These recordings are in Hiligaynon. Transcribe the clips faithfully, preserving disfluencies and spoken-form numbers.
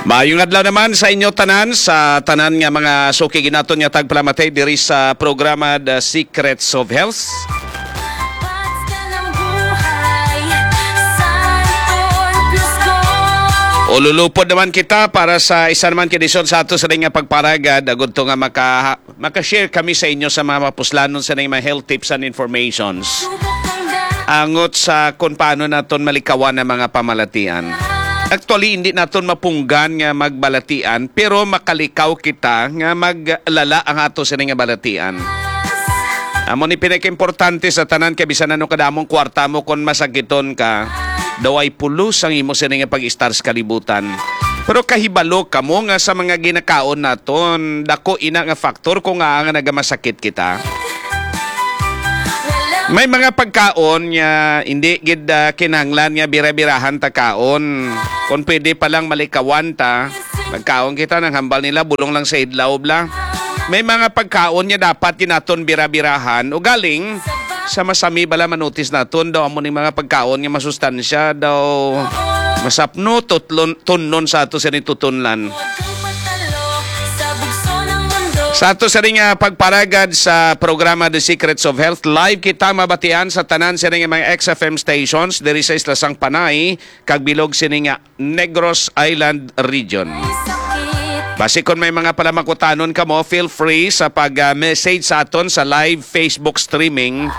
Maayong adlaw naman sa inyo tanan, sa tanan nga mga suki ginaton nga tagpalamati diri sa programa The Secrets of Health. Ululupod naman kita para sa isa naman ka edisyon sa ato sa nga pagparagad, agud to nga maka maka-share kami sa inyo sa mga mapuslanon sa mga health tips and informations angot sa kung paano naton malikawan ang mga pamalatian. Actually, hindi naton mapunggan nga magbalatian, pero makalikaw kita nga maglala ang ato sa nga balatian. Amo ni pinakaimportante sa tanan, kay bisan ano kadamong kwarta mo, kung masakiton ka, daw ay pulos ang imo sini nga pag-istar sa kalibutan. Pero kahibalo kamo nga sa mga ginakaon naton, dako ina nga faktor kung nga nga nagamasakit kita. May mga pagkaon nga hindi gid, ah, kinahanglan nga bira-birahan ta kaon. Kung pwede pa lang malikawan ta, magkaon kita, nang hambal nila bulong lang sa idlaw bla. May mga pagkaon nga dapat ginaton bira-birahan. Ugaling, sa masami bala manutis naton daw amo ning mga pagkaon nga masustansya daw masapno tutlon, tunnon sa ato sa tutunlan. Sa ato sa ring, ah, pagparagad sa programa The Secrets of Health, live kita mabatian sa tanan sa ring mga X F M stations diri sa Isla Sang Panay kag bilog sini nga Negros Island Region. Basi kon may mga palamakutanon kamo, feel free sa pag, ah, message sa aton sa live Facebook streaming.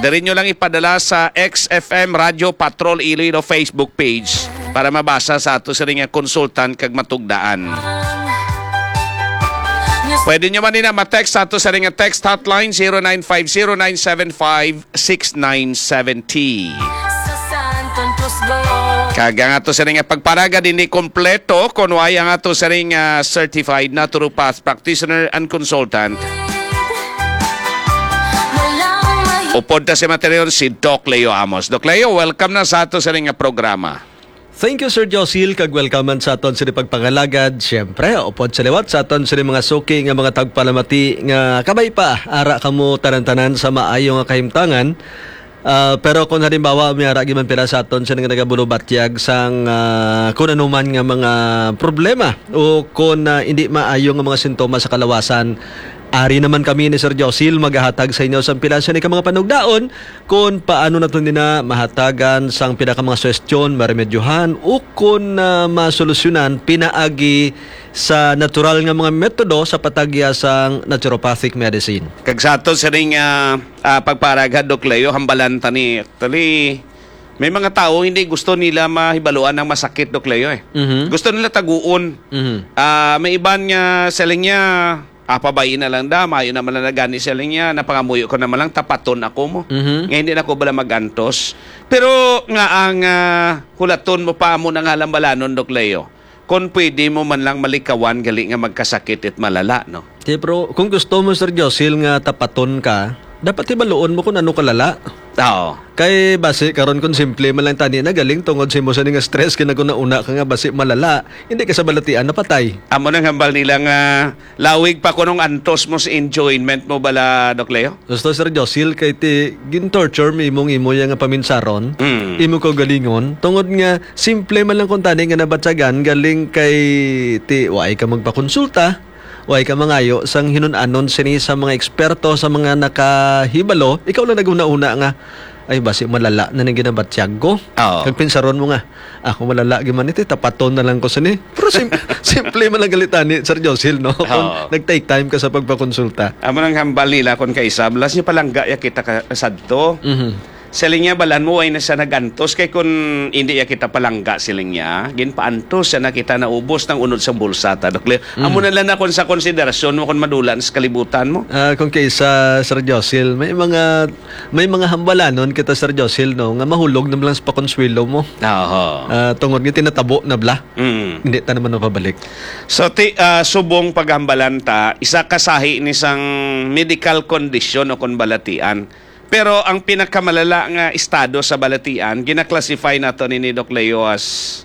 Diri nyo lang ipadala sa X F M Radio Patrol Iloilo Facebook page para mabasa sa ato sa ring consultant kag matugdaan. Pwede nyo man nina ma-text sa ato sa ring text hotline zero nine five zero nine seven five six nine seven zero. Kag ang ato sa ring pagparagad hindi kompleto kung way ang ato sa ring, ah, certified naturopath practitioner and consultant. Upod ta si material si Doc Leo Amos. Doc Leo, welcome na sa ato sa ring programa. Thank you, Sir Josil, kag welcome man sa aton sini pagpangalagad. Siyempre, upod sa liwat sa aton sini mga suki nga mga tagpalamati nga kabay pa, ara kamo tanan-tanan sa maayo nga kahimtangan. Ah, pero kung halimbawa, may ara giman pila sa aton sini nga nagabulubatyag sang, ah, kun ano man nga mga problema o kun, ah, hindi maayo nga mga sintomas sa kalawasan, ari naman kami ni Sir Josil magahatag sa inyo sang pila sini ka mga panugdaon kon paano naton nina mahatagan sang pila ka mga suhestyon, maremedyohan, ukon, ah, masolusyonan pinaagi sa natural nga mga metodo sa patagya sang naturopathic medicine. Kag sa ato sining, ah, ah, pagparagad, Doc Leo, hambalan ta ni. Actually, may mga tawo hindi gusto nila mahibaluan ang masakit, Doc Leo, eh. Mhm. Gusto nila taguon. Mhm. Ah, may iban nga siling niya, "Ah, pabayi na lang da, mayo naman lang na gani siling niya, napangamuyo ko naman lang, tapaton ako mo. Mhm. Nga hindi na ko bala magantos." Pero nga ang, ah, hulaton mo pa mo nang halambalanon, Doc Leo, kung pwede mo man lang malikawan gali nga magkasakit it malala, no? Di, pero kung gusto mo, Sir Josil, nga tapaton ka, dapat hibaluon mo kung ano kalala. Oo. Kay basi karon kung simple man lang tani na galing tungod sa imo sini nga stress, kinaguna-una ka nga basi malala, hindi ka sa balatian napatay. Amo nang hambal nila nga lawig pa kunong antos mo sa enjoyment mo bala, Doc Leo? Gusto, Sir Josil, kay ti gin-torture mo imong imo ya nga paminsaron, Mm. imo kaugalingon, tungod nga simple man lang kung tani nga nabatyagan galing kay ti waay ka magpakonsulta, waay ka mangayo sang hinun-anon sini sa mga eksperto, sa mga nakahibalo, ikaw lang naghuna-huna nga, "Ay, basi malala na ning ginabatyag ko." Oo. Kag pinsaron mo nga, "Ako malala gyud man iti, tapaton na lang ko sini." Pero sim-, simple man lang gali tani, Sir Josil, no? Kung Oo. nag-take time ka sa pagpakonsulta. Amo nang hambal nila kon kaisa, balas niya palangga ya kita ka sadto. Mhm. Siling niya, "Balan mo, way na siya nagantos, kay kun hindi ya kita palangga," siling niya, "ginpaantos siya na kita, naubos nang unod sa bulsa ta, Doc Leo." Mm. Amo na lang na kung sa konsiderasyon mo kung madulan sa kalibutan mo. Ah, kung kaisa, Sir Josil, may mga, may mga hambalanon kita, Sir Josil, no, nga mahulog na lang sa pakonsuelo mo. Oho. Ah, tungod nga tinatabo na bala. Mm. Hindi ta naman mapabalik. So, ti-, ah, subong paghambalan ta, isa ka sahi ni sang medical condition o kung balatian. Pero ang pinakamalala nga estado sa balatian, gina-classify nato ni, ni Doc Leo as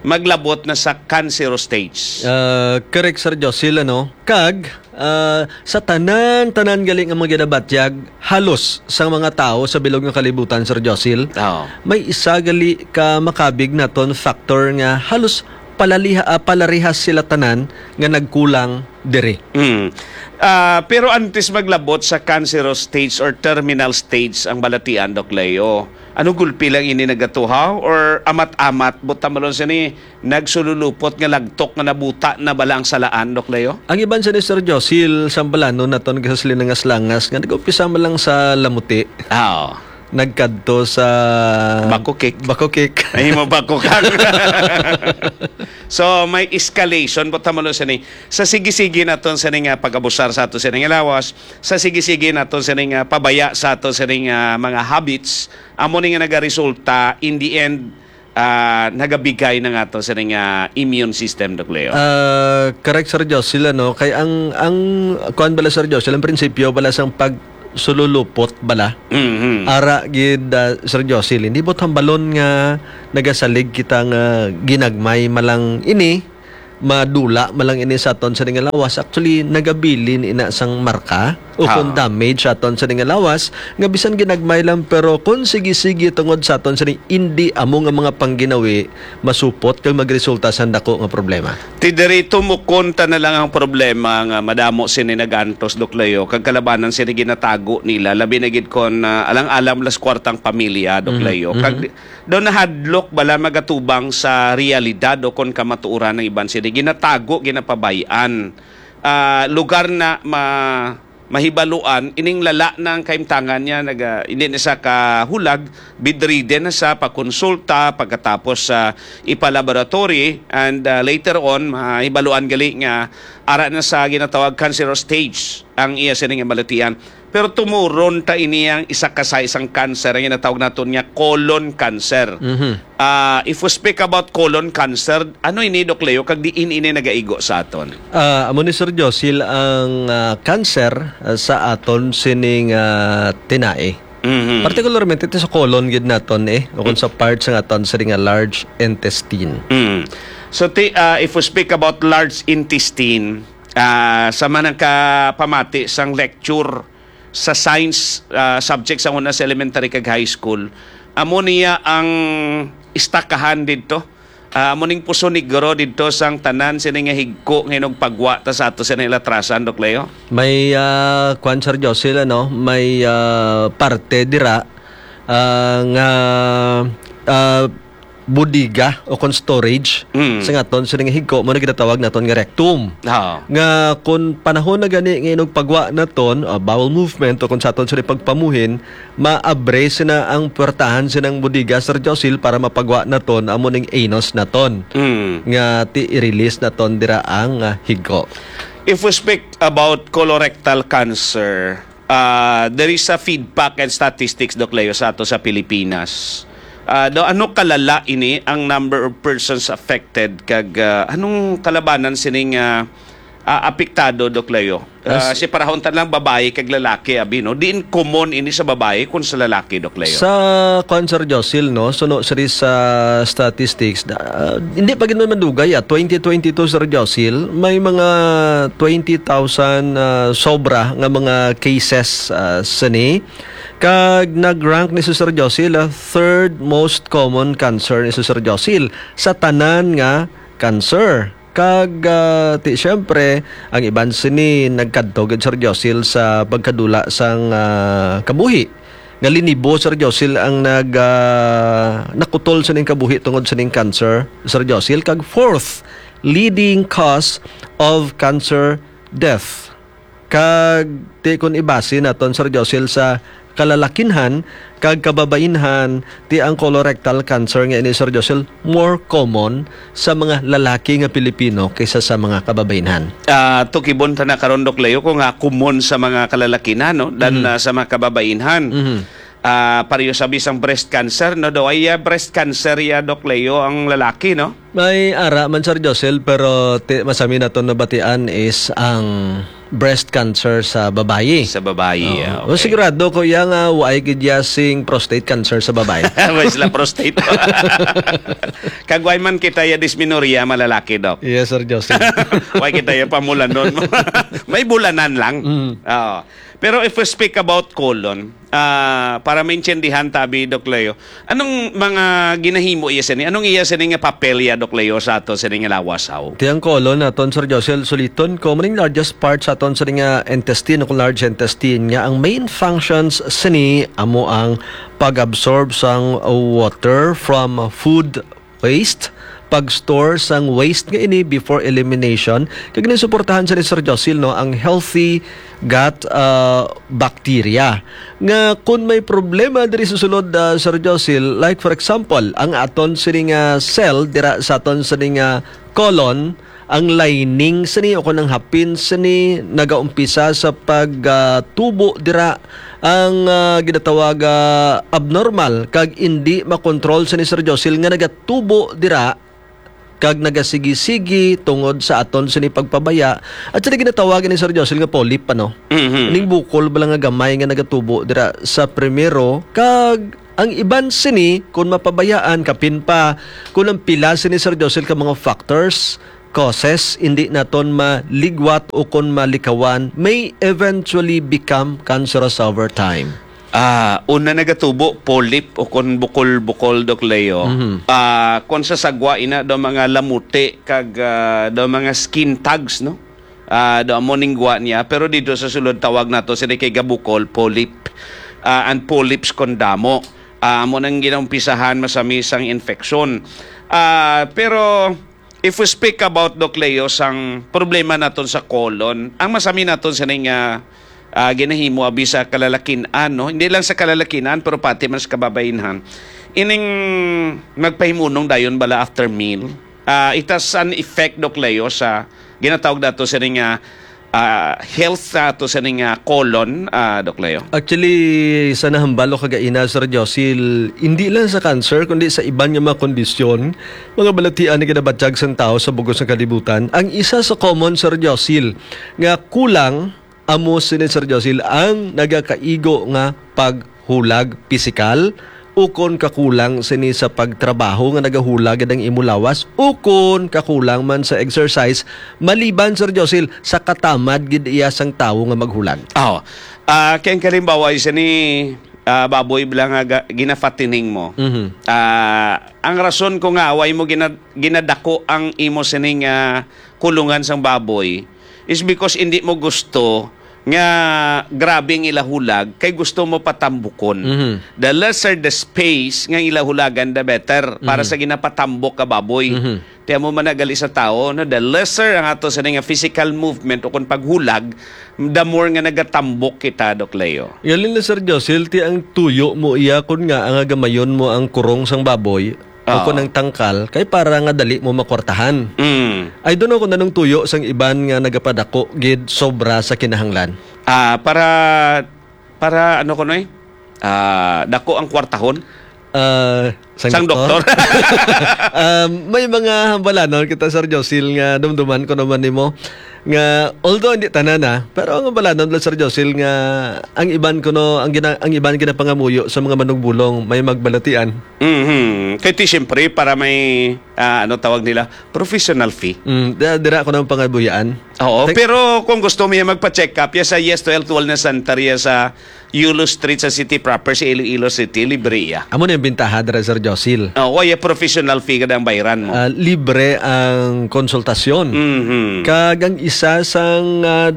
maglabot na sa cancer stage. Ah, correct, Sir Josil, ano? Kag, ah, sa tanan-tanan gali nga mga ginabatyag, halos sa mga tawo sa bilog nga kalibutan, Sir Josil, Oo. may isa gali ka makabig naton factor nga halos palaliha, ah, palarihas sila tanan nga nagkulang diri. Mm. Ah, pero antes maglabot sa cancerous stage or terminal stage ang balatian, Doc Leo, ano gulpi lang ini nagatuhaw or amat-amat, buot hambalon sini, nagsululupot nga lagtok nga nabuta na bala ang salaan, Doc Leo? Ang iban sini, Sir Josil, sambalanon naton sa silinangas-langas nga nag-umpisa man lang sa Lamuti. Ah, oo. Nagkadto sa Bakukik. Bakukik. Ay, mo Bakukak. So, may escalation, buot hambalon sini. Sa sige-sige naton sini nga pag-abusar sa ato sini nga lawas, sa sige-sige naton sini nga pabaya sa ato sini nga mga habits, amo ni nga nagaresulta, in the end, ah, nagabigay na nga ato sini nga immune system, Doc Leo. Ah, correct, Sir Josil, ano? Kay ang, ang, kuwan bala, Sir Josil, ang prinsipyo bala sang pagsululupot bala. Mhm. Ara gid, ah, Sir Josil, hindi buot hambalon nga nagasalig kita nga ginagmay man lang ini, madula man lang ini sa aton sini nga lawas. Actually, nagabilin ina sang marka o kung Ah. damage sa aton sini nga lawas, nga bisan ginagmay lang, pero kung sige-sige tungod sa aton sini, hindi amo nga mga pangginawi, masupot kag magresulta sa dako nga problema. Ti diri tumukon ta na lang ang problema nga madamo sini nagantos, Doc Leo, kag kalabanan sini ginatago nila, labi na gid kon, ah, alang-alang las kwartang pamilya, Doc Mhm, Leo. Kag mhm. di-, daw nahadlok bala magatubang sa realidad o kon kamatuoran ang iban sini ginatago, ginapabay-an. Ah, lugar na ma-, mahibaluan, ining lala na ang kahimtangan niya, naga-, hindi na siya kahulag, bedridden na siya, pakonsulta, pagkatapos sa ipa-laboratory, and, ah, later on, mahibaluan gali nga ara na sa ginatawag cancerous stage ang iya sining balatian. Pero tumuron ta ini ang isa ka sa isang cancer, ang ginatawag naton nga colon cancer. Mhm. Ah, if we speak about colon cancer, ano ini, Doc Leo, kag diin ini nagaigo sa aton? Ah, amo ni, Sir Josil, ang, ah, cancer, ah, sa aton sining, ah, tinai. Mhm. Partikularmente ito sa colon gid naton, eh, o kung sa parts nga aton sini nga large intestine. Mm. So, ti-, ah, if we speak about large intestine, ah, sa man ang kapamati sang lecture sa science, ah, subject sa una sa elementary kag high school, amo niya ang istakahan didto. Ah, amo ning puso negro didto sang tanan sini nga higko nga inugpagwa ta sa ato sini latrasan, Doc Leo. May, ah, kwan, Sir Josil, ano, may, ah, parte dira, ah, nga, ah, bodega o kon storage Mm. sa aton sini nga higko, mo na ginatawag naton nga rectum. Oo. Nga kun panahon na gani nga inugpagwa naton, ah, bowel movement o kung sa aton sini pagpamuhin, maabre sina ang puwertahan sinang bodega, Sir Josil, para mapagwa naton amo ning anus naton Mm. nga ti i-release naton dira ang, ah, higko. If we speak about colorectal cancer, ah, there is a feedback and statistics, Doc Leo, sa ato sa Pilipinas. Ah, do, ano kalala ini ang number of persons affected kag, ah, anong kalabanan sining, ah, ah, apektado, Doc Leo? Ah, As si parahon ta lang babayi kag lalaki, abi, no? Diin common ini sa babayi kun sa lalaki, Doc Leo? Sa kwan, Sir Josil, no? Suno siri sa statistics, da-, ah, hindi pa gid man madugay, ah. Twenty twenty-two, Sir Josil, may mga twenty thousand, ah, sobra nga mga cases, ah, sini. Kag nag-rank ni Sir Josil, ah, third most common cancer ni Sir Josil sa tanan nga cancer. Kag, ah, ti, siyempre, ang iban sini nagkadto gid, Sir Josil, sa pagkadula sang, ah, kabuhi. Nga linibo, Sir Josil, ang nag, ah, nakutol sining kabuhi tungod sining cancer, Sir Josil. Kag fourth leading cause of cancer death. Kag ti kun ibase naton, Sir Josil, sa kalalakinhan kag kababainhan, ti ang colorectal cancer nga ini, Sir Josil, more common sa mga lalaki nga Pilipino kaysa sa mga kababainhan. Ah, tukibon ta na karon, Doc Leo, kung nga common sa mga kalalakinhan, no, than, Mhm. ah, sa mga kababainhan. Mhm. Ah, pareho sa bisang breast cancer, no, daw ay, ah, breast cancer ya, Doc Leo, ang lalaki, no? May ara man, Sir Josil, pero ti-, masami naton nabatian is ang breast cancer sa babayi. Sa babayi, Oo. ah, O, okay. Sigurado ko iya nga waay gid iya sing prostate cancer sa babayi. Wala sila prostate. Kagway man kita ya dysmenorrhea, malalaki, Doc. Yes, Sir Joseph. Why kita ya pamulanon? May bulanan lang. Mm. Oo. Pero if we speak about colon, ah, para maintindihan tabi, Doc Leo, anong mga ginahimo iya sini? Anong iya sini nga papel ya, Doc Leo, sa ato sini nga lawas, haw? Ti ang colon naton, Sir Josel, suliton ko, maning largest part sa aton sini nga intestine, kung large intestine, nga ang main functions sini amo ang pag-absorb sang water from food waste, pag-store sang waste nga ini before elimination, kag ginasuportahan sa ni Sir Josil, no, ang healthy gut, ah, bacteria. Nga kun may problema diri sa sulod, ah, Sir Josil, like for example, ang aton sini nga cell dira sa aton sini nga colon, ang lining sini o kung ang hapin sini nagaumpisa sa pag, ah, tubo dira ang, ah, ginatawag, ah, abnormal kag indi makontrol sini, Sir Josil, nga nagatubo dira kag nagasigi-sigi tungod sa aton sini pagpabaya at sini ginatawag ni, Sir Josil, nga polyp, ano? Mhm. Ning bukol bala nga gamay nga nagatubo dira sa primero, kag ang iban sini, kung mapabayaan, kapin pa, kung ang pila sini, Sir Josil, ka mga factors, causes, hindi naton maligwat o kung malikawan, may eventually become cancerous over time. Ah, una nagatubo, polyp o kon bukol-bukol, Doc Leo. Mhm. Ah, kon sa sagwa, ina, daw mga lamuti kag, ah, daw mga skin tags, no? Ah, daw amo ning gwa niya. Pero dito sa sulod, tawag nato sini kay gabukol, polyp. Ah, and polyps kon damo. Ah, amo nang ginaumpisahan masami sang infeksyon. Ah, pero if we speak about, Doc Leo, sang problema naton sa colon, ang masami naton sini nga, ah, ginahimo abi sa kalalakin-an, no? Hindi lang sa kalalakin-an, pero pati man sa kababainhan. Ining magpahimunong dayon bala after meal, ah, it has an effect, Doc Leo, sa ginatawag nato sini nga, ah, health sa ato sini nga colon, ah, Doc Leo. Actually, sa nahambal o kagaina, Sir Josil, hindi lang sa cancer, kundi sa iban nga mga kondisyon, mga balatian nga ginabatyag sang tawo sa bugos nga kalibutan, ang isa sa common, Sir Josil, nga kulang amo sini, Sir Josil, ang nagakaigo nga paghulag pisikal, ukon kakulang sini sa pagtrabaho nga nagahulag gid ang imo lawas, ukon kakulang man sa exercise, maliban, Sir Josil, sa katamad gid iya sang tawo nga maghulag. Aw. Ah, kay ang kalimbawa, isa ni, ah, baboy bala nga ga-, ginafattening mo. Mhm. Ah, ang rason ko nga why mo gina-, ginadako ang imo sining, ah, kulungan sang baboy is because hindi mo gusto nga grabe ang ila hulag, kay gusto mo patambukon. Mhm. The lesser the space nga ila hulagan, the better para Mhm. sa ginapatambok ka baboy. Mhm. Ti amo man na gali sa tawo, no? The lesser ang ato sa nga physical movement o kung paghulag, the more nga nagatambok kita, Doc Leo. Yun lang, Sir Josil, ti ang tuyo mo iya kun nga ang gamayon mo ang kurong sang baboy o Oo. kun ang tangkal, kay para nga dali mo makwartahan. Mm. I don't know kung anong tuyo sang iban nga nagapadako gid sobra sa kinahanglan. Ah, para, para ano ko, Noy? Ah, dako ang kwartahon? Ah, sang Sang doktor? doktor? Ah, may mga hambalanon kita, Sir Josil, nga dumduman ko naman nimo. Nga, although hindi tanan, ah, pero ang hambalanon lang, Sir Josil, nga ang iban kuno, ang gina-, ang iban ginapangamuyo sa mga manugbulong, may magbalatian. Mhm. Kay ti, siyempre, para may, ah, ano tawag nila? Professional fee. Mm, da-, dira ko nang pangabuyaan. Oo, Thank- pero kung gusto mo yan magpa-check up, ya sa Yes to Health Wellness Center, ya sa Yulo Street sa city proper, sa Iloilo City, libre ya. Amo na yung bintaha dira, Sir Josil. Oo, ya professional fee kada ang bayran mo. Ah, libre ang konsultasyon. Mhm. Kag ang isa sang, ah,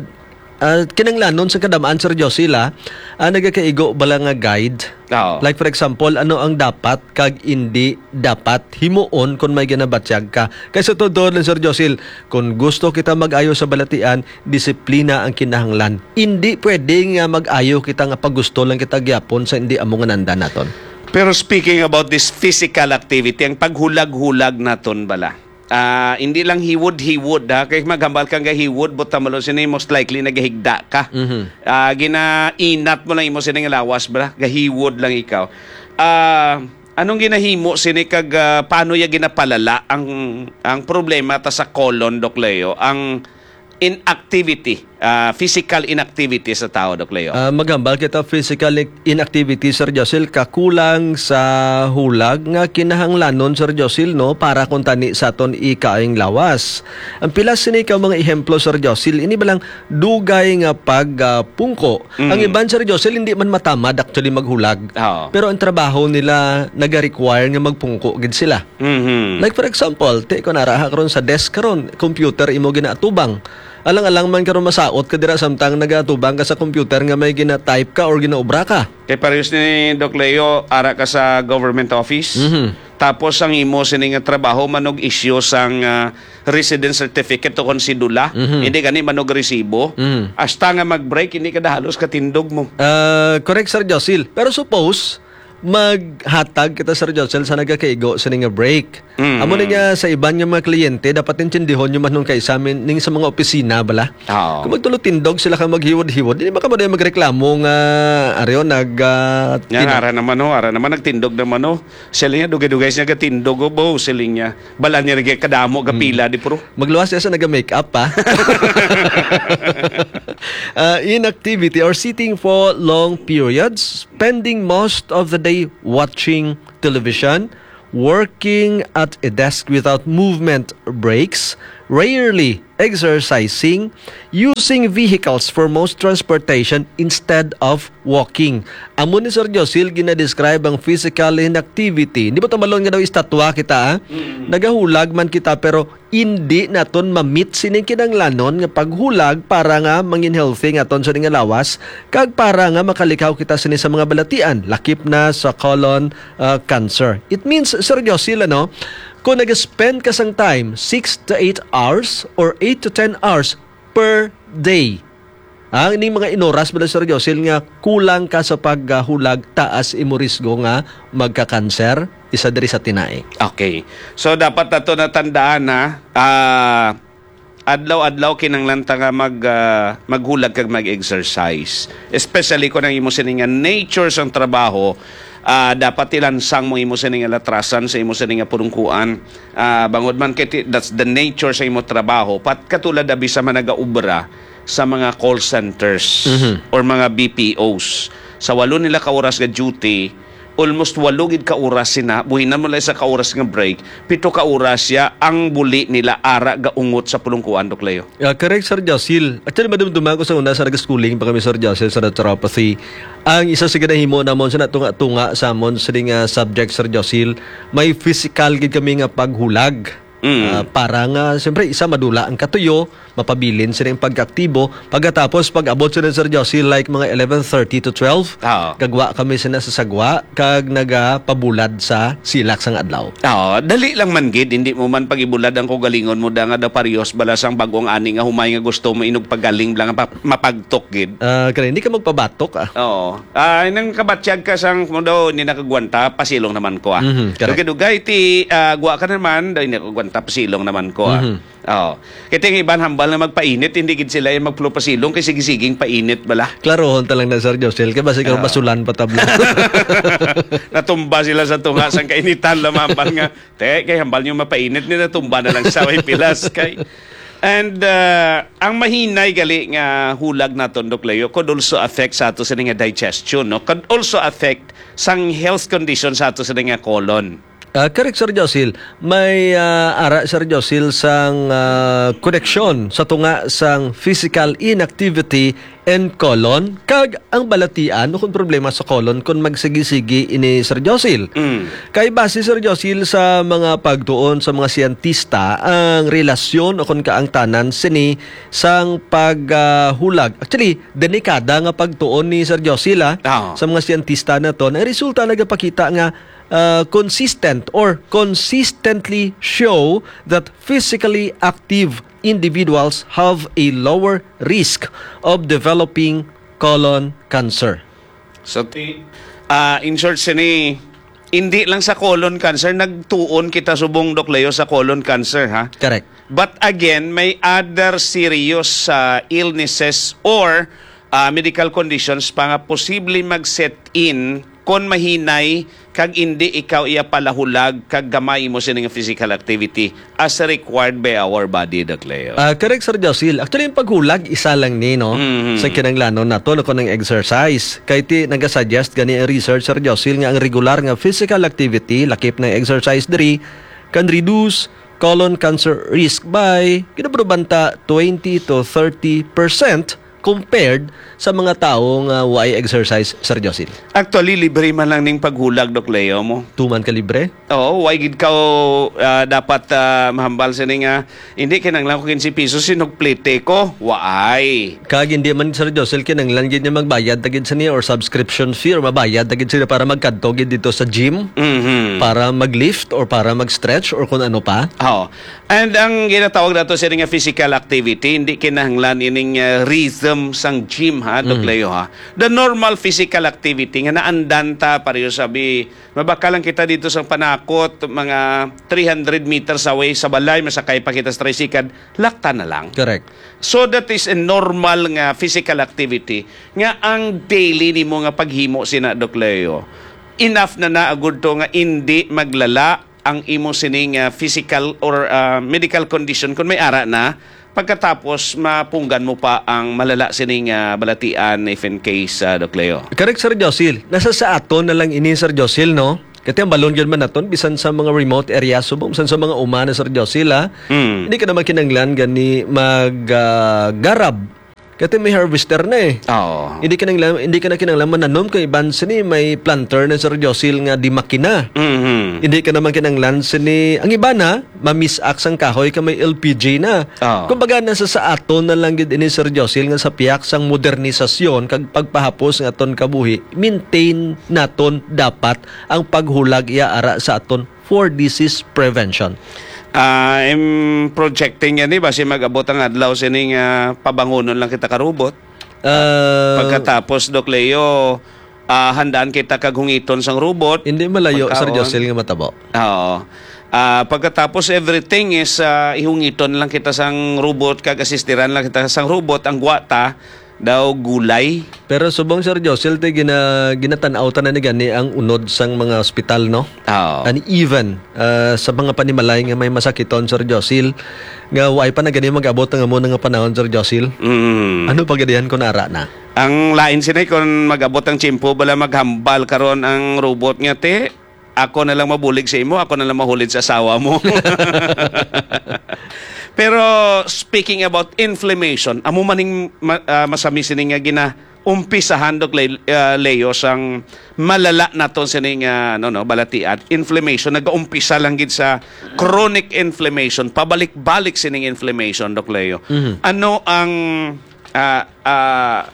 ah, kinanglanon sa kadamaan, Sir Josil, ah, ang nagakaigo bala nga guide. Oo. Like, for example, ano ang dapat kag indi dapat himuon kon may ginabatyag ka? Kay sa totoo lang, Sir Josil, kung gusto kita mag-ayo sa balatian, disiplina ang kinahanglan. Indi pwede nga mag-ayo kita nga pagusto lang kita gyapon sa indi amo nga nandan naton. Pero speaking about this physical activity, ang paghulag-hulag naton bala, ah, hindi lang hiwod-hiwod, ha? Kay maghambal kang gahiwod, buta mo lang sini, most likely nagahigda ka. Mhm. Ah, ginainat mo lang imo sini nga lawas, bala, gahiwod lang ikaw. Ah, anong ginahimo sini kag, ah, paano ya ginapalala ang, ang problema ta sa colon, Doc Leo? Ang inactivity. ah, physical inactivity sa tao, Doc Leo? Ah, maghambal kita physical inactivity, Sir Josil, kakulang sa hulag nga kinahanglanon, Sir Josil, no, para kuntani sa aton ikaayong lawas. Ang pila sini ka mga ehemplo, Sir Josil, ini ba lang dugay nga pagpungko? Ang iban, Sir Josil, hindi man matamad actually maghulag. Oo. Pero ang trabaho nila nag-require nga magpungko gid sila. Mhm. Like for example, ti ko naraha karon sa desk karon, computer imo ginaatubang. Alang-alang man karon masaot ka dira samtang nagatubang ka sa computer nga may gina-type ka or ginaobra ka. Kay parehas ni Doc Leo, ara ka sa government office. Mhm. Tapos ang imo sini nga trabaho manog issue sang ah, residence certificate o kon sidula. Mhm. Hindi gani manog resibo. Mhm. Hasta nga mag-break, hindi ka na halos katindog mo. Ah, correct, Sir Josil. Pero suppose, maghatag kita, Sir Josil, sa nagakaigo sa nga break. Mm. Amo na nga sa iban nga mga kliyente, dapat intindihon nyo man nung kay sa amin, ning sa mga opisina, bala. Oo. Kung magtulotindog sila ka maghiwod-hiwod, hindi ba ka ba magreklamo nga, ariyo, nag, ah, Nga, ara naman ho, ara naman, nagtindog naman ho. Siling niya, dugay-dugay siya gatindog ho, bo, siling niya. Bala niya, nagkadamo, gapila, di pro. Magluwas siya sa naga-makeup, pa. Uh, inactivity or sitting for long periods, spending most of the day watching television, working at a desk without movement breaks, rarely exercising, using vehicles for most transportation instead of walking. Amo ni Sir Josil ginadescribe ang physical inactivity. Di ba tumalon nga daw estatwa kita, ah? Nagahulag man kita, pero hindi naton ma-meet sining kinahanglanon nga paghulag para nga mangin healthy nga aton sa nga lawas, kag para nga makalikhaw kita sini sa mga balatian, lakip na sa colon, ah, cancer. It means, Sir Josil, ano, kung nag-spend ka sang time, six to eight hours or eight to ten hours per day, ang ining mga inoras, Brother Sir Josil, nga kulang ka sa paghulag, taas imo risgo nga magka-cancer, isa diri sa tinai. Okay. So, dapat nato natandaan na, ah, adlaw-adlaw kinahanglan ta nga mag, ah, maghulag kag mag-exercise. Especially kung ang imo sini nga nature sang trabaho, ah, dapat ilansang mo imo sini nga latrasan sa imo sini nga pulungkuan. Ah, bangod man kay ti-, that's the nature sa imo trabaho. Pat katulad abi sa mga nagaobra sa mga call centers Mhm. or mga B P Os. Sa walo nila ka oras nga duty, almost walo gid ka oras sina, buhinan mo lang isa ka oras nga break, pito ka oras siya ang buli nila ara gaungot sa pulungkuan, Doc Leo. Ah, correct, Sir Josil. Actually, madumduman ko sa una sa nag-schooling pa kami, Sir Josil, sa naturopathy. Ang isa sa ginahimo namon sa natunga-tunga sa amon sa nga subject, Sir Josil, may physical gid kami nga paghulag. Mm. Ah, para nga, siyempre, isa, madula ang katuyo, mapabilin sila yung pagkaaktibo. Pagkatapos, pag-abot sila, Sir Josil, like mga eleven thirty to twelve, Oo. gagwa kami sila sa sagwa, kag nagapabulad sa silak sang adlaw. Oo, dali lang man gid, hindi mo man pag-ibulad ang kaugalingon mo da nga daw parehas bala sang bag-ong ani nga humay nga gusto mo inog pagaling bala nga pa-, mapagtok gid. Ah, kaya hindi ka magpabatok, ah. Oo. Ah, nang kabatyag ka sang mo daw hindi nakagwanta, pasilong naman ko, ah. Mhm, correct. Dugay-dugay ti, ah, gwa ka naman, daw hindi nakagwanta, pasilong naman ko, ah. Mhm. Oo. Kaya yung iban hambal nga magpainit, hindi gid sila yung magpulo pasilong kay sige-siging painit bala. Klarohon ta lang na, Sir Josil, kaya basi ka Oo. basulan pa tabla. Natumba sila sa tunga sang kainitan, lamambal nga, "Te, kay hambal nyo mapainit ni, natumba na lang sa way pilas kay." And uh, ang mahinay gali nga hulag naton, Doc Leo, could also affect sa ato sini nga digestion, no? Could also affect sang health condition sa ato sini nga colon. Ah, correct, Sir Josil. May ah, ara, Sir Josil, sang ah, koneksyon sa tunga sang physical inactivity and colon, kag ang balatian o kung problema sa colon kung magsigi-sigi ini, Sir Josil. Mm. Kay base, Sir Josil, sa mga pagtuon sa mga siyentista, ang relasyon o kung kaangtanan sini sang paghulag. Actually, delikada nga pagtuon ni Sir Josil, ah, Ah. sa mga siyentista naton. Ang resulta nagapakita nga uh, consistent or consistently show that physically active individuals have a lower risk of developing colon cancer. So, ti, ah, in short, sini, hindi lang sa colon cancer, nagtuon kita subong, Doc Leo, sa colon cancer, ha? Correct. But again, may other serious ah, illnesses or ah, medical conditions pa nga posible mag-set in kon mahinay kag indi ikaw iya palahulag kag gamay mo sini nga physical activity as required by our body, Doc Leo. Ah, correct, Sir Josil. Actually, yung paghulag, isa lang ni, no? Mhm. Sa kinahanglanon nato, no, kung ang exercise. Kay ti, nagasuggest gani ang research, Sir Josil, nga ang regular nga physical activity, lakip na exercise diri, can reduce colon cancer risk by, ginabrubanta, twenty to thirty percent compared sa mga tawo nga way exercise, Sir Josil. Actually, libre man lang ning paghulag, Doc Leo, mo. Tuman ka libre? Oo, way gid ka, ah, dapat, ah, mahambal sini nga, "Hindi, kinahanglan ko quince pesos, sinugplite ko." Waay. Kag hindi man, Sir Josil, kinahanglan gid niya magbayad ta gid sini or subscription fee or mabayad ta gid sini para magkadto gid dito sa gym, Mhm. para mag-lift or para mag-stretch or kung ano pa. Oo. And ang ginatawag nato sini nga physical activity, hindi kinahanglan ining, ah, rhythm sang gym, ha, Doc Mhm. Leo, ha. The normal physical activity nga naandan ta, pareho sabi, mabakal lang kita dito sa panakot, mga three hundred meters away sa balay, masakay pa kita sa tricycle, lakta na lang. Correct. So that is a normal nga physical activity nga ang daily nimo nga paghimo sina, Doc Leo, enough na na agud to nga indi maglala ang imo sining, ah, physical or, ah, medical condition kung may ara na, pagkatapos mapunggan mo pa ang malala sining, ah, balatian if in case, ah, Doc Leo. Correct, Sir Josil. Nasa sa aton na lang ini, Sir Josil, no? Kati ang balon gyud man naton, bisan sa mga remote areas, subong bisan sa mga uma na, Sir Josil, ha? Mm. Hindi ka naman kinanglan gani mag, ah, garab. Kati may harvester na eh. Oo. Hindi ka nang, hindi ka na kinanglan mananom kay iban sini may planter na, Sir Josil, nga di makina. Mhm. Hindi ka naman kinanglan sini, ang iba na, mamisak sang kahoy ka may L P G na. Oo. Kumbaga, nasa sa aton na lang gid ini, Sir Josil, nga sa piyak sang modernisasyon kag pagpahapos nga aton kabuhi, maintain naton dapat ang paghulag iya ara sa aton for disease prevention. Ah, I'm projecting yan, eh, basi mag-abot ang adlaw sining, ah, pabangonon lang kita ka robot. Ah, pagkatapos, Doc Leo, ah, handaan kita kag hungiton sang robot. Hindi malayo, Sir Pagkaon. Josel, nga matabo. Oo. Ah, pagkatapos, everything is, ah, ihungiton lang kita sang robot, kag asistiran lang kita sang robot, ang gwata daw gulay. Pero subong, Sir Josel, te, gina-, ginatan-aw ta na ni gani ang unod sang mga ospital, no? Oo. And even, ah, sa mga panimalay nga may masakiton, Sir Josil, nga way pa na gani mag-abot ang amo nga panahon, Sir Josil. Mm. Ano pa gadihan kung ara na? Ang lain sinay kung mag-abot ang tiyempo, bala maghambal karon ang robot nga, "Te, ako na lang mabulig sa imo, ako na lang mahulid sa asawa mo." Pero speaking about inflammation, amo maning ma-, ah, masami sini nga gina-, umpisahan, Doc Le-, ah, Leo, sang malala naton sini nga, ano, no, balatian. Inflammation, nagaumpisa lang gid sa chronic inflammation, pabalik-balik sining inflammation, Doc Leo. Mhm. Ano ang, ah, ah,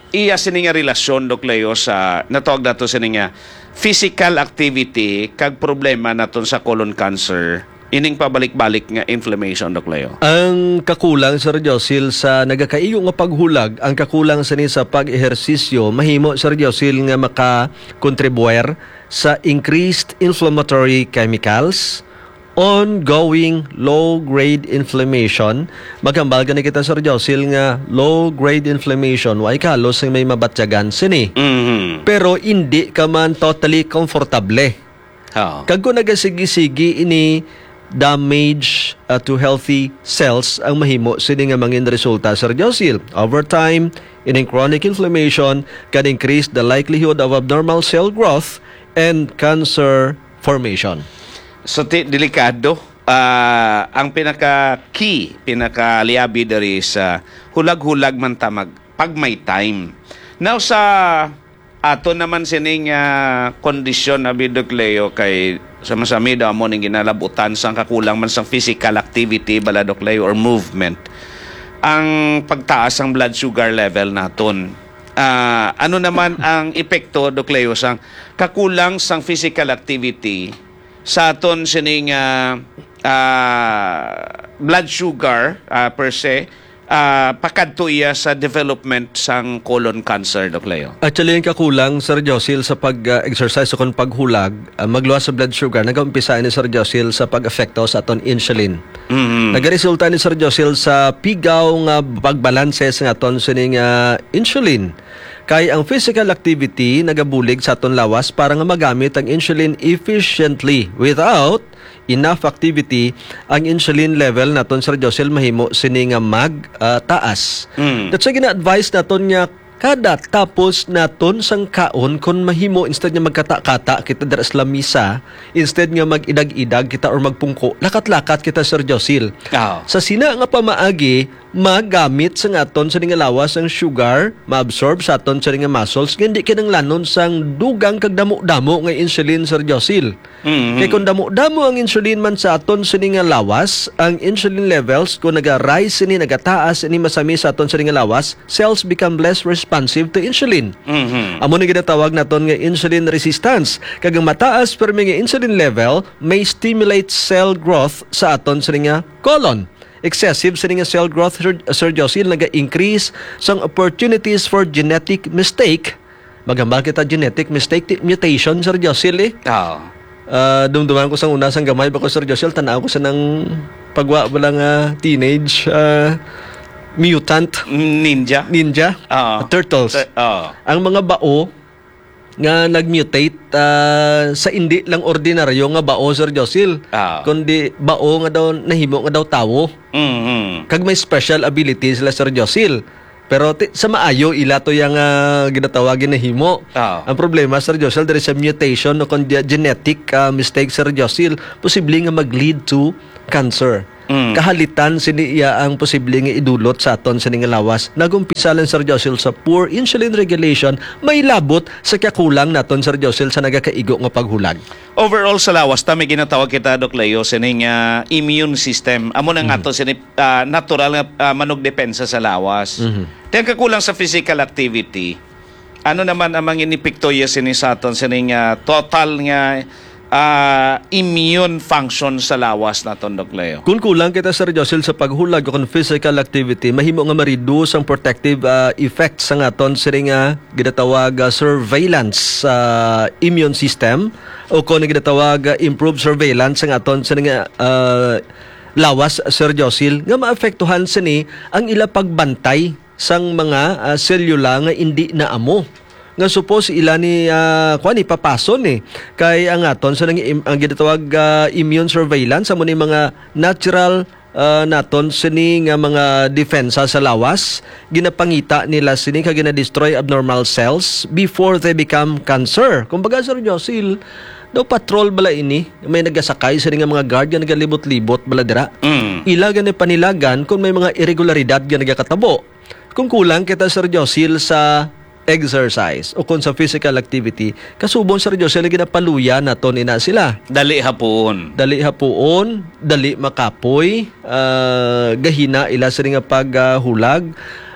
iya sini nga relasyon, Doc Leo, sa natawag nato sini nga physical activity kag problema naton sa colon cancer? Ining pabalik-balik nga inflammation, Doc Leo? Ang kakulang, Sir Josil, sa nagakaigo nga paghulag, ang kakulang sini sa pag-ehersisyo, mahimo, Sir Josil, nga makakontribuir sa increased inflammatory chemicals, ongoing low-grade inflammation. Maghambal gani kita, Sir Josil, nga low-grade inflammation, way kalos nga may mabatyagan sini. Mhm. Pero hindi ka man totally comfortable. Oo. Kag kung nagasigi-sigi ini, damage, uh, to healthy cells ang mahimo sini nga mangin resulta, Sir Josil. Over time, ining chronic inflammation can increase the likelihood of abnormal cell growth and cancer formation. So, ti-, delikado. Ah, ang pinaka-key, pinaka-liabi diri sa hulag-hulag man ta mag-, pag may time. Now, sa ato naman sining, ah, kondisyon, abi, Doc Leo, kay sa masami daw amo ning ginalabutan sang kakulang man sang physical activity, bala, Doc Leo, or movement, ang pagtaas sang blood sugar level naton. Ah, ano naman ang epekto, Doc Leo, sang kakulang sang physical activity sa aton sining, ah, ah, blood sugar, ah, per se, ah, pakadto iya sa development sang colon cancer, Doc Leo? Actually, ang kakulang, Sir Josil, sa pag, ah, exercise o kon paghulag, ah, magluwas sa blood sugar, nagaumpisa ini, Sir Josil, sa pag-epekto sa aton insulin. Mhm. Nagaresulta ni, Sir Josil, sa pigaw nga pagbalanse sa aton sining, ah, insulin. Kay ang physical activity nagabulig sa aton lawas para nga magamit ang insulin efficiently. Without enough activity, ang insulin level naton, Sir Josel, mahimo sini nga mag, ah, taas. Mm. That's why gina-advise naton nga kada tapos naton sang kaon, kung mahimo, instead nga magkata-kata kita dira sa lamisa, instead nga mag-idag-idag kita or magpungko, lakat-lakat kita, Sir Josil. Ah. Sa sina nga pamaagi, magamit sa aton sini nga lawas ang sugar, maabsorb sa aton sini nga muscles, nga hindi kinahanglanon sang dugang kag damo-damo nga insulin, Sir Josil. Mhm. Kay kung damo-damo ang insulin man sa aton sini nga lawas, ang insulin levels, kung naga-rise sini, nagataas ini, masami sa aton sini nga lawas, cells become less responsive to insulin. Mhm. Amo ni ginatawag naton nga insulin resistance. Kag ang mataas permi nga insulin level may stimulate cell growth sa aton sini nga colon. Excessive sini nga cell growth, Sir, Sir Josil, naga-increase sang opportunities for genetic mistake. Maghambal kita genetic mistake, ti-, mutation, Sir Josil, eh. Oo. Ah, dumduman ko sang una, sang gamay pa ko, Sir Josil, tanaw ko sa nang pagwa bala nga teenage, ah, mutant. Ninja. Ninja. Oo. Turtles. Tur-, oo. Ang mga bao nga nag-mutate, ah, sa indi lang ordinaryo nga bao, Sir Josil, Ah. kundi bao nga daw nahimo nga daw tawo. Mhm. Kag may special ability sila, Sir Josil. Pero ti-, sa maayo, ila to yang, ah, ginatawag nga nahimo. Ah. Ang problema, Sir Josil, diri sa mutation o kon di-, genetic, ah, mistake, Sir Josil, posible nga mag-lead to cancer. Mm. Kahalitan sini iya ang posible nga idulot sa aton sini nga lawas. Nag-umpisa lang, Sir Josil, sa poor insulin regulation, may labot sa kakulang naton, Sir Josil, sa nagakaigo nga paghulag. Overall sa lawas, ta may ginatawag kita, Doc Leo, sini nga immune system. Amo na nga Mhm. to, sini, ah, natural nga, ah, manugdepensa sa lawas. Mhm. Ti ang kakulang sa physical activity, ano naman ang mga inepekto iya sini sa aton, sini nga total nga, ah, immune function sa lawas naton, Doc Leo? Kung kulang kita, Sir Josil, sa paghulag o kon physical activity, mahimo nga ma-reduce ang protective, ah, effect sa aton sini nga ginatawag, ah, surveillance sa immune system o kon ginatawag, ah, improved surveillance sa aton sini nga, ah, lawas, Sir Josil, nga maapektuhan sini ang ila pagbantay sang mga, ah, selula nga indi na amo, nga supos ila ni, ah, kuwan, ipapason, eh. Kay ang aton sa nang im-, ang ginatawag, ah, immune surveillance, amo ni mga natural, ah, naton sini nga mga depensa sa lawas, ginapangita nila sini kag ginadestroy abnormal cells before they become cancer. Kumbaga, Sir Josil, daw patrol bala ini, may nagasakay sini nga mga guard nga nagalibot-libot bala dira. Mm. Ila gani panilagan kung may mga irregularidad nga nagakatabo. Kung kulang kita, Sir Josil, sa exercise o kung sa physical activity, kasubong, Sir Josil, ginapaluya naton ina sila. Dali hapuon. Dali hapuon, dali makapoy, ah, gahina ila sini nga paghulag.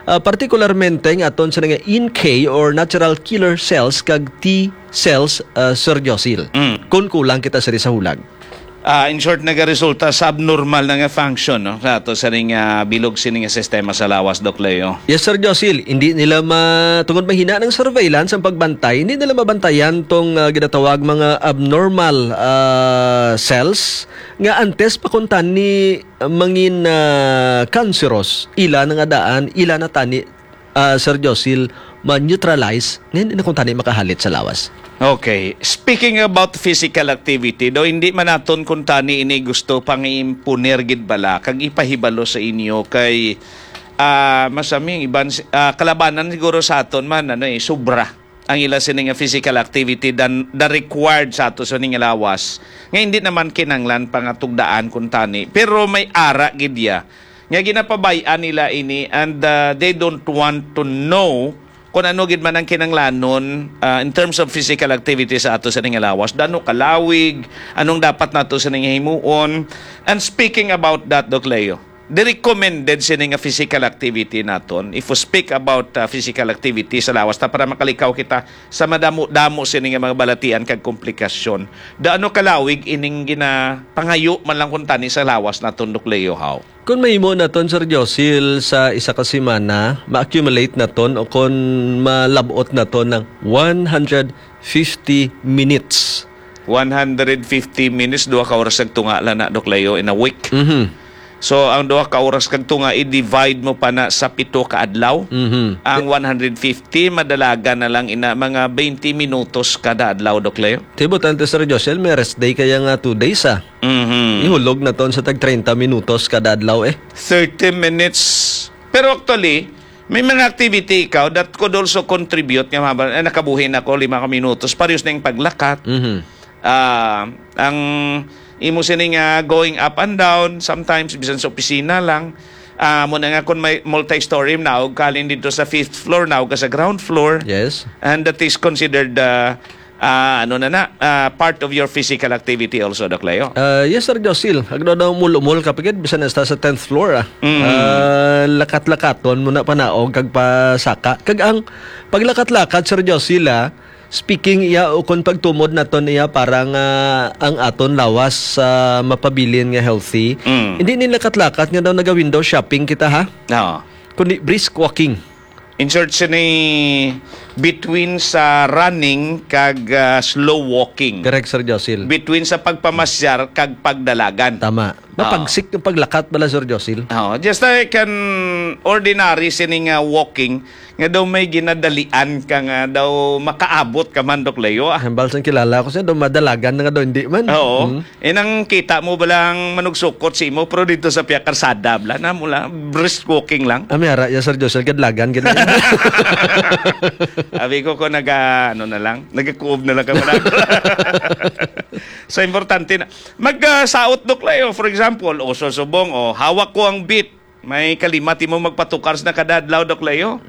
Ah, partikularmente nga aton sini nga N K or natural killer cells kag T cells, ah, Sir Josil. Mm. Kung kulang kita sini sa hulag. Ah, in short, nagaresulta sa abnormal na nga function, no, sa ato sa ning, ah, bilog sini nga sistema sa lawas, Doc Leo. Yes, Sir Josil. Hindi nila ma-, tungod mahina ng surveillance ang pagbantay, hindi nila mabantayan tong, ah, ginatawag mga abnormal, ah, cells nga antes pa kuntani mangin, ah, cancerous. Ila na nga daan, ila na tani ah, Sir Josil, ma-neutralize, nga hindi na kuntani makahalit sa lawas. Okay. Speaking about physical activity, do, hindi man naton kuntani ini gusto pang-imponer gid bala kag ipahibalo sa inyo kay, ah, masami ang iban si-, ah, kalabanan siguro sa aton man, ano, eh, sobra ang ila sini nga physical activity than the required sa ato sa ning lawas nga hindi naman kinanglan pa nga tugdaan kuntani, pero may ara gid ya nga ginapabay-an nila ini, and, uh, they don't want to know kung ano gid man ang kinanglanon, uh, in terms of physical activity sa ato sa ning lawas. Daano kalawig, anong dapat nato sa ning himuon. And speaking about that, Doc Leo, the recommended sini nga physical activity naton. If we speak about, uh, physical activity sa lawas, ta para makalikaw kita sa madamo-damo sini nga mga balatian kag komplikasyon. Daano kalawig ining ginapangayo man lang kuntani sa lawas naton, Doc Leo, haw? Kung mahimo naton, Sir Josil, sa isa ka semana, ma-accumulate naton o kung malabot naton ng one hundred fifty minutes. One hundred fifty minutes, duha ka oras nagtunga lang na, Doc Leo, in a week. Mhm. So, ang duha ka oras kag tunga, i-divide mo pa na sa pito ka adlaw. Mhm. Ang one hundred fifty, madalagan na lang ina mga twenty minutos kada adlaw, Doc Leo. Ti butante, Sir Josel, may rest day kaya nga two days, ah. Mhm. Ihulog na ton sa tag treinta minutos kada adlaw, eh. Thirty minutes. Pero actually, may mga activity ikaw that could also contribute nga mahaba, eh, nakabuhi na ko lima ka minutos, parehas na yung paglakat. Mhm. Ah, ang imo sini nga going up and down, sometimes bisan sa opisina lang. Ah, mo na nga kung may multi-story, naog ka halin dito sa fifth floor, naog ka sa ground floor. Yes. And that is considered, ah, ah, ano na na, ah, part of your physical activity also, Doc Leo. Ah, yes, Sir Josil. Agno daw umul-umol ka pagid, bisan hasta sa tenth floor, ah. Mm. Ah, lakat-lakaton mo na panaog kag pasaka. Kag ang paglakat-lakat, Sir Josil, ah, speaking iya o kon pagtumod naton iya para nga ang aton lawas sa mapabilin nga healthy. Mm. Hindi ni lakat-lakat nga daw naga-window shopping kita, ha? Oo. Kundi brisk walking. Insert sini between sa running kag, ah, slow walking. Correct, Sir Josil. Between sa pagpamasyar kag pagdalagan. Tama. Oo. Mapagsik yung paglakat bala, Sir Josil. Oo, just like an ordinary sini nga walking, nga daw may ginadalian ka nga daw makaabot ka man, Doc Leo, ah. Hambal sang kilala ko siya, daw madalagan na nga daw, hindi man. Oo. Hmm. Eh, nang kita mo ba lang manugsukot si imo, pero dito sa piya karsada, bla, na mo lang, brisk walking lang. Ah, may ara, ya, Sir Josil, kadlagan, gid. Abi ko, ko naga, ano na lang, nagakuob na lang ka, wala. So, importante na. Mag, ah, saot, Doc Leo, for example, o, so, subong, o, hawak ko ang beat. May kalima ti mo magpatukar sa kada adlaw, Doc Leo?